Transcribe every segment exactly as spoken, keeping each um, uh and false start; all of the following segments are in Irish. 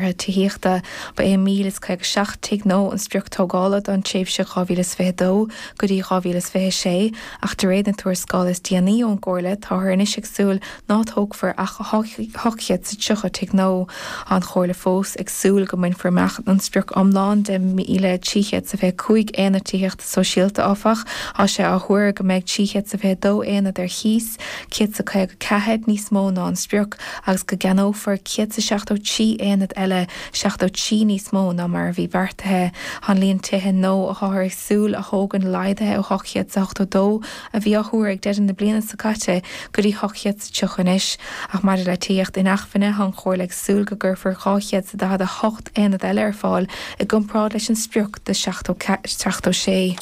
tithíochta. Ba é míle is caoga seacht tigh nua an sprioc tógála don tréimhse dhá mhíle is fiche dó go dtí dhá mhíle is fiche sé, ach de réir na tuarascála is déanaí ón gComhairle, táthar anois ag súil ná tógfar ach ocht chéad is tríocha tigh nua. Tá an Chomhairle fós ag súil go mbainfear amach an sprioc iomlán de míle trí chéad is fiche cúig aonad tithíochta sóisialta, áfach. Tá sé á thuar go mbeidh trí chéad is fiche dó aonad ar chíos, céad is caoga ceathair níos mó ná an sprioc, agus go gceannófar céad is seachtó trí aonad eile, seachtó trí níos mó ná mar a bhí beartaithe. Tá an líon tithe nua atáthar ag súil a thógaint laghdaithe ó ocht chéad is ochtó dó a bhí á thuar ag deireadh na bliana seo caite go dtí ocht chéad is tríocha anois. Ach maidir le tithíocht inacmhainne, tá an Chomhairle ag súil go gcuirfear dhá chéad is daichead a hocht aonad eile ar fáil i gcomparáid leis an sprioc de seachtó sé.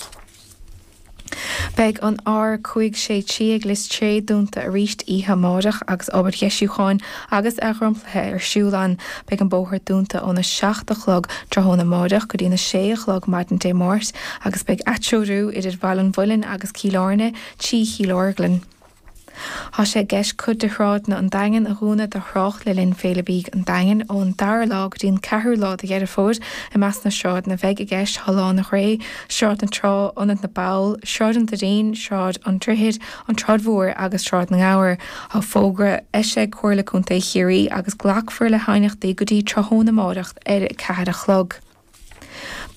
Beidh an R cúig sé trí ag Lios Cré dúnta arís oíche amárach agus obair dheisiúcháin agus athdhromchlaithe ar siúl ann. Beidh an bóthar dúnta óna seacht a chlog tráthnóna amárach go dtína sé a chlog maidin Dé Máirt agus beidh atreorú idir Baile an Mhuilinn agus Cill Airne trí Chill Orglan. Tá sé i gceist cuid de shráideanna an Daingin a dhúnadh do thrácht le linn Féile Bídh an Daingin ón dara lá go dtí an ceathrú lá de Dheireadh Fómhair. I measc na sráideanna a bheidh i gceist tá Lána Ghré, Sráid na Trá, Ionad na Ball, Sráid an Doirín, Sráid an Droichid, an tSráid Mhór agus Sráid na nGabhar. Tá fógra eisithe ag Comhairle Contae Chiarraí agus glacfar le haighneachtaí go dtí tráthnóna amárach ar a ceathair a chlog.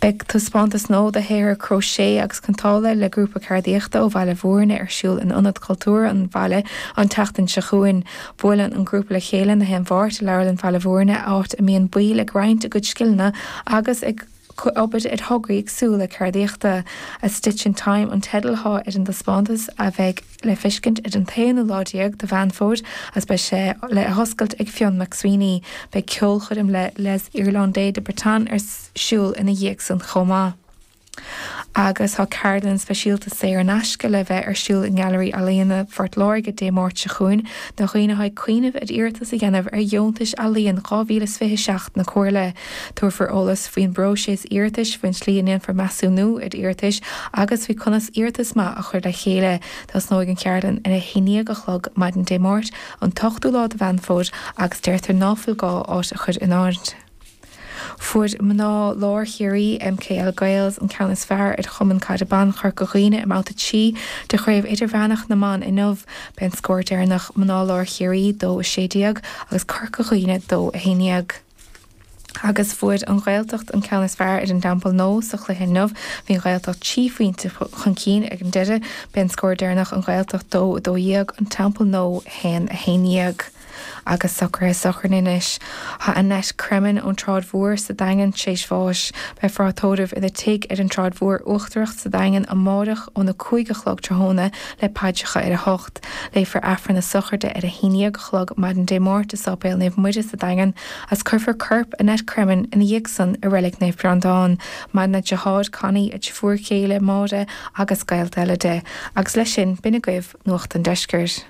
Beidh taispeántas nua de shaothar cróisé agus cniotála le grúpa ceardaíochta ó Bhaile Bhúirne ar siúl in Ionad Cultúrtha an bhaile an tseachtain seo chugainn. Buaileann an grúpa le chéile na haon Mháirt i Leabharlann Bhaile Bhúirne, áit a mbíonn baill ag roinnt a gcuid scileanna agus ag obair ar thograí éagsúla ceardaíochta. A Stitch in Time an teideal atá ar an dtaispeántas a bheidh le feiscint ar an t-aonú lá déag de Mheán Fómhair agus beidh sé le hoscailt ag Fionn McSweeney. Beidh ceolchoirm le Les Irlandais de Bretagne ar siúl ina dhiaidh san chomh maith. Agus tá ceardlann speisialta saor in aisce le bheith ar siúl i nGailearaí Ealaíona Phort Láirge Dé Máirt seo chugainn do dhaoine atá ag cuimhneamh ar iarratas a dhéanamh ar dheontais ealaíon dhá mhíle is fiche a seacht na Comhairle. Tabharfar eolas faoin bpróiseas iarratais, faoin tslí a ndéanfar measúnú ar iarratais agus faoi conas iarratas maith a chur le chéile. Tosnóidh an cheardlann ar a haon déag a chlog maidin Dé Máirt, an t-ochtú lá de Mheán Fómhair agus deirtear ná fuil gá áit a chur in áirithe. Fuair mná Lár Chiarraí, MKL Gaels, an ceann is fearr ar Chumann Caide Ban Chorca Dhuibhne i mBabhta trí de Chraobh Idirmheánach na mBan inniu. B'é an scór deireanach mná Lár Chiarraí dó a sé déag agus Corca Dhuibhne dó a haon déag. Agus fuair an Ghaeltacht an ceann is fearr ar an dTeampall Nua sa chluiche inniu. Bhí an Ghaeltacht trí phointe chun cinn ag an deireadh. B'é an scór deireanach an Ghaeltacht dó a dó dhéag, an Teampall Nua haon a haon dhéag. Agus socruithe sochraide anois. Tá Annette Cremin ón tSráid Mhór sa Daingean tar éis bháis. Beifear á tórramh ina tigh ar an tSráid Mhór Uachtarach sa Daingean amárach óna cúig a chlog tráthnóna le paidreacha ar a hocht. Léifear Aifreann na sochraide ar a haon déag a chlog maidin Dé Máirt i Sáipéal Naomh Muire sa Daingean agus cuirfear corp Annette Cremin ina dhiaidh san i Reilig Naomh Breandán. Maireann a deartháir Connie, a deirfiúr chéile Máire agus gaolta eile di. Agus leis sin, b'in agaibh Nuacht an Deiscirt.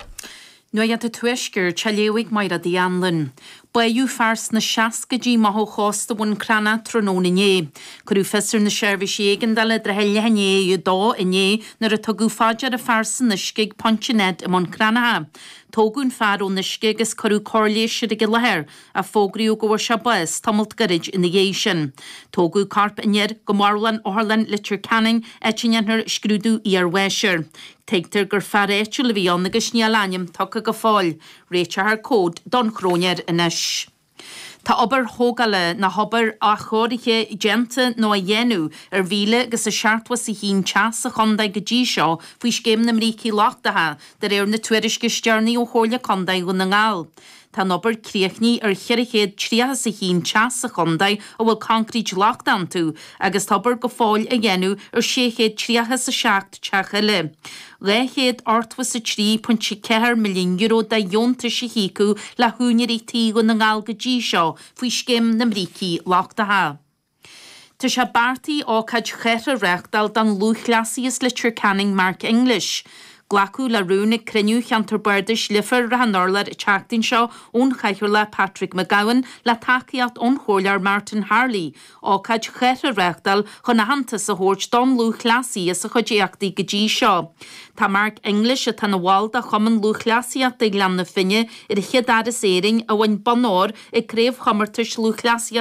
Nuacht an Tuaiscirt á léamh ag Mairéad Uí Anluain. Báitheadh fear sna seascaidí amach ó chósta Bhun Cranncha tráthnóna inné. Cuireadh fios ar na seirbhísí éigeandála i dtrátha leath i ndiaidh a dó inné nuair a tugadh fá deara fear san uisce ag Pointe Ned i mBun Cranncha. Tógadh an fear ón uisce agus cuireadh cóir leighis air ag an láthair, ach fógraíodh go bhfuair sé bás tamalt gairid ina dhiaidh sin. Tógadh corp an fhir go marbhlann Otharlann Leitir Ceanainn, áit a ndéanfar scrúdú iarbháis air. Tuigtear gur fear áitiúil a bhí ann agus níl a ainm tugtha go fóill. Réiteofar comhad don chróinéir anois. Tá obair thógála nó obair athchóirithe déanta nó á dhéanamh ar mhíle agus a seachtó is a haon teach sa chontae go dtí seo faoi Scéim na mBrící Lochtacha, de réir na tuairisce is deireanaí ó Chomhairle Contae Dhún na nGall. Tá an obair críochnaithe ar cheithre chéad tríocha is a haon teach sa chontae a bhfuil concrete lochtach iontu agus tá obair go fóill á dhéanamh ar sé chéad tríocha is a seacht teach eile. dhá chéad ochtó is a trí pointe ceathair milliún euro de dheontais a híocadh le húinéirí tí Dhún na nGall go dtí seo faoi Scéim na mBrící Lochtacha. Tá sé beartaithe ócáid chathartha a reáchtáil don lúthchleasaí as Leitir Ceanainn Mark English. Glacadh le rún ag cruinniú Cheantar Bardais Leifear Ráth an Urláir an tseachtain seo ón Chathaoirleach Patrick McGowan le tacaíocht ón Chomhairleoir Martin Harley, ócáid chairthe a reáchtáil chun aitheantas a thabhairt don lúthchleasaí as a chuid éachtaí go dtí seo. Tá Mark English atá ina bhall de Chumann Lúthchleasaíochta Ghleann na Finne ar an chéad fhear as Éirinn a bhain bonn óir ag craobhchomórtais lúthchleasaíochta